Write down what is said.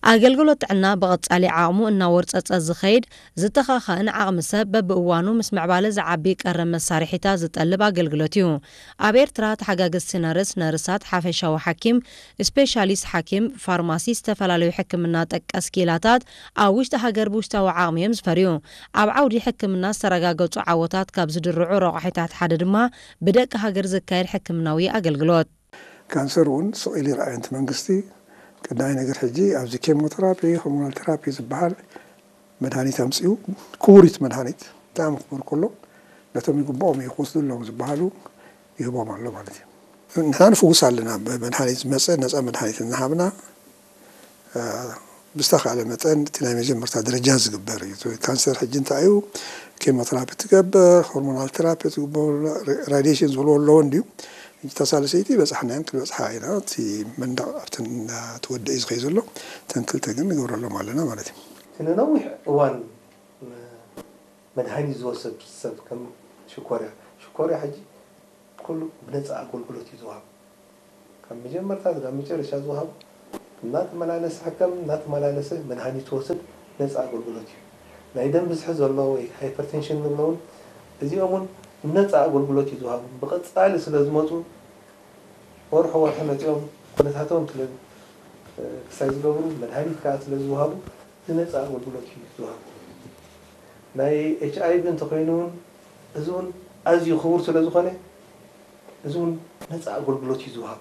ኣገልግሎት ጥዕና ብቐጻሊ ዓቕሙ እናወርጸጸ ዝኸይድ፣ ዝተኻኸእን ዓቕሚ ሰብ በብእዋኑ ምስ ምዕባለ ዝዓቢ ቀረብ መሳርሒታት ዝጠልብ ኣገልግሎት እዩ። ኣብ ኤርትራ ተሓጋገዝቲ ነርስ፣ ነርሳት፣ ሓፈሻዊ ሓኪም፣ ስፔሻሊስት ሓኪም፣ ፋርማሲስት፣ ዝተፈላለዩ ሕክምና ጠቀስ ክኢላታት ኣብ ውሽጢ ሃገር ብውሽጣዊ ዓቕሚ እዮም ዝፈርዩ። ኣብ ዓውዲ ሕክምና ዝተረጋገጹ ዓወታት ካብ ዝድርዑ ረቋሒታት ሓደ ድማ ብደቂ ሃገር ዝካየድ ሕክምናዊ ኣገልግሎት። ካንሰር እውን ስቕ ኢሉ ይረኣየን እቲ መንግስቲ። ቀዳማይ ነገር ሕጂ ኣብዚ ኬሞቴራፒ፣ ሆርሞናል ቴራፒ ዝበሃል መድሃኒት ኣምፅኡ። ክቡሪት መድሃኒት ብጣዕሚ ክቡር ከሎ ነቶም ይግብኦም እዩ ክወስዱ ኣለዎም ዝበሃሉ ይህቦም ኣሎ ማለት እዩ። ንሕና ንፍውስ ኣለና። ብመድሃኒት ዝመፀ ነፃ መድሃኒት እናሃብና ብዝተኻለ መጠን እቲ ናይ መጀመርታ ደረጃ ዝግበር እዩ። ካንሰር ሕጂ እንታይ እዩ? ኬሞቴራፒ ትገብር፣ ሆርሞናል ቴራፒ ትግበር፣ ራዲሽን ዝብልዎ ኣለዎ እንድዩ። ሕጂ እታ ሳልሰይቲ በፃሕናያን ክንበፅሓ ኢና። እቲ መንደቕ ኣብተን እናተወደእ እዩ ዝኸይ ዘሎ። እተን ክልተ ግን ንገብረሎም ኣለና ማለት እዩ። እቲ ንነዊሕ እዋን መድሃኒት ዝወሰድ ሰብ ከም ሽኮርያ ሽኮርያ ሕጂ ኩሉ ብነፃ ኣገልግሎት እዩ ዝወሃብ። ካብ መጀመርታ ናብ መጨረሻ ዝወሃብ እናተመላለሰ ሕከም እናተመላለሰ መድሃኒት ትወስድ ነፃ ኣገልግሎት እዩ። ናይ ደም ብዝሒ ዘሎ ወይ ሃይፐርቴንሽን ንብሎ እውን እዚኦም እውን ነፃ ኣገልግሎት እዩ ዝወሃቡ። ብቐፃሊ ስለ ዝመፁ ወርሒ ወርሒ መፂኦም ኩነታቶም ክሳይ ዝገብሩ መድሃኒት ከዓ ስለ ዝወሃቡ ብነፃ ኣገልግሎት እዩ ዝወሃቡ። ናይ ኤች ኣይ ቪ እንተኮይኑ እውን እዚ እውን ኣዝዩ ክቡር ስለ ዝኾነ እዚ እውን ነፃ ኣገልግሎት እዩ ዝወሃብ።